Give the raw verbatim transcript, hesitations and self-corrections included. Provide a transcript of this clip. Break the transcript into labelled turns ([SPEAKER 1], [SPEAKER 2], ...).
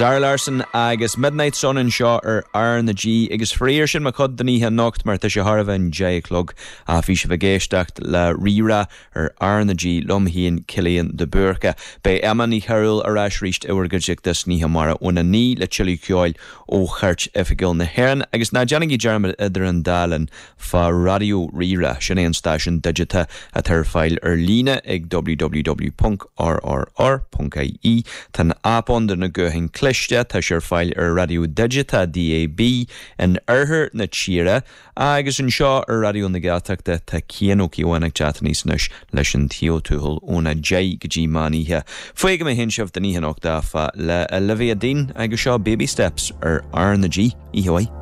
[SPEAKER 1] Zara Larsson agus Midnight Sun anseo ar R na G agus faraor sin mo chuid don oíche anocht mar tá sé thar a deich a chlog a bhí sibh ag éisteacht le Rí-Rá ar R na G liom féin Cillian de Búrca. Beidh Emma Ní Chearúil ar ais arís i bhur gcuideachta san oíche amárach óna naoi le tuilleadh ceoil ó Chairt Oifigiúil na hÉireann agus ná déanaigí dearmad idir an dá linn fá Raidió Rí-Rá sin é an stáisiún digiteach atá ar fáil ar líne ag www.rrr.ie Tá an aip ann do na gutháin cliste tá sé ar fáil ar raidió digiteach DAB in oirthear na tíre agus anseo ar Raidió na Gaeltachta tá Cian Ó Cíobháin ag teacht aníos anois leis an Taobh Tuathail óna deich go dtí meán oíche. Fágfaidh mé féin sibh don oíche anocht áfach le Olivia Dean agus seo Baby Steps ar R na G. Oíche mhaith.